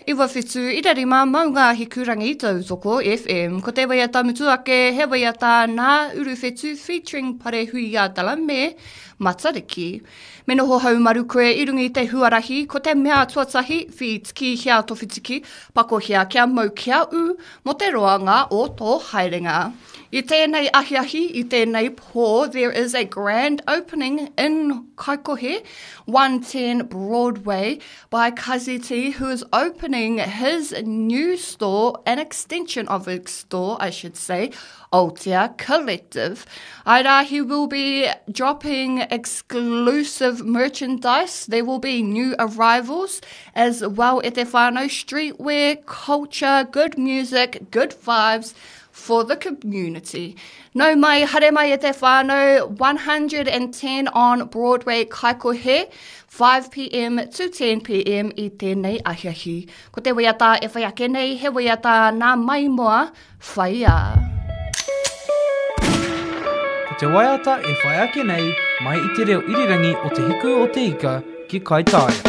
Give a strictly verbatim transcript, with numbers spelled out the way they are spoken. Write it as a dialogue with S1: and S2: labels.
S1: iwa whitu ira rima maunga hikurangi tautoko FM. Ko te waiata mutu ake, he waiata nā Uruwhetu featuring Parehuia Dala me Matariki. Me noho haumaru koe i runga i te huarahi, ko te mea tuatahi, whitiki hea to whitiki, pakohia kia mau kia u, mo te roanga o tō haerenga. I tēnei ahiahi, i tēnei pō, there is a grand opening in Kaikohe, one ten Broadway, by Kazi T, who is opening his new store, an extension of his store, I should say, Aotea Collective. Aira, he will be dropping exclusive merchandise. There will be new arrivals as well at te whānau, streetwear, culture, good music, good vibes for the community. No mai, haere mai e te whānau, one hundred and ten on Broadway Kaikohe, five P M to ten P M i tēnei ahiahi. Ko te waiata e whai ake nei, he waiata nā maimoa, whaia.
S2: Ko te waiata e whai ake nei, mai i te reo irirangi o te hiku o te ika ki Kaitaia.